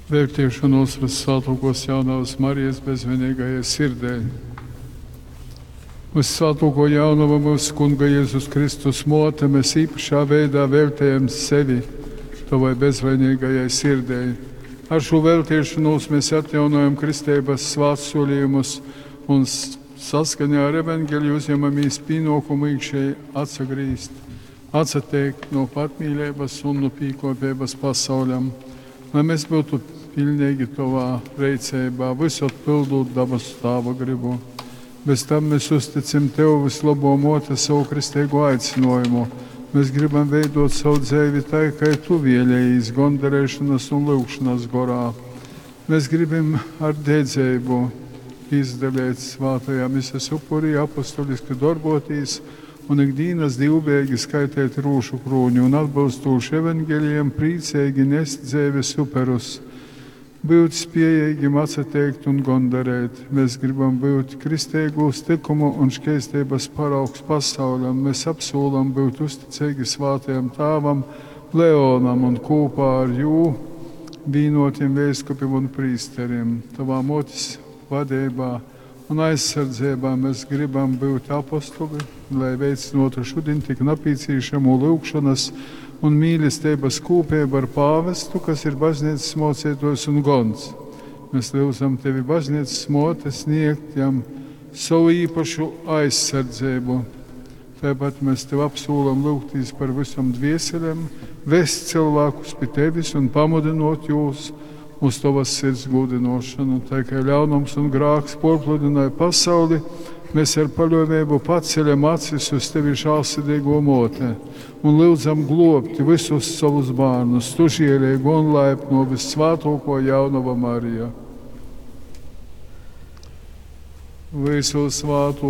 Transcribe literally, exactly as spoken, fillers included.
Veltiešanos Vissvētākos jaunavas Marijas bezvainīgajai sirdei. Vissvētāko jaunava mūsu Kunga Jēzus Kristus mote, mēs īpašā veidā veltējam sevi Tavai bezvainīgajai sirdei. Ar šo veltiešanos mēs atjaunojam kristības svētsolījumus un saskaņā ar evaņģeliju uzņemamies pienākumu iekšēji atsagrīzt, atsateikt no patmīlības un no pīkopības pasauļam, lai mēs būtu pilnīgi Tavā reicībā, visot pildot dabas Tāva gribu. Bez tam mēs uzticam Tev vislabo mote savu kristīgo aicinājumu. Mēs gribam veidot savu dzīvi tā, kā Tu vēlējies, gondarēšanas un lūgšanas gorā. Mēs gribam ar dedzību izdalīt svātajā mises upurī, apostoliski darboties un ikdienas divbēgi skaitīt rūšu krūņu un atbilstoši evaņģēlijam priecīgi nest dzīves uperus. Būt spējīgiem atsateikt un gondarēt. Mēs gribam būt kristīgūs likumu un šķēstības paraugs pasauļam. Mēs apsolam būt uzticīgi svātajam tāvam Leonam un kopā ar jū vīnotiem vēskupiem un prīsteriem. Tavā motis vadībā un aizsardzībā mēs gribam būt apostoli, lai veicinātu šodien tik nepieciešamo lūgšanas un mīlestības kūpību ar pāvestu, kas ir baznīcas mocītājs un gons. Mēs lūdzam tevi baznīcas mote sniegt jam savu īpašu aizsardzību. Tāpat mēs tev apsolam lūgtīs par visam dvieselēm, vest cilvēkus pie tevis un pamudinot jūs uz tavas sirds gudinošanu. Tā kā ļaunums un grāks porpludināja pasauli, mēs ar paļāvību paceļam acis uz tevi žēlsirdīgo mote un lūdzam globt visus savus bērnus, tu žēlīgo un laipno vissvētāko jaunava Marija. Visu svāto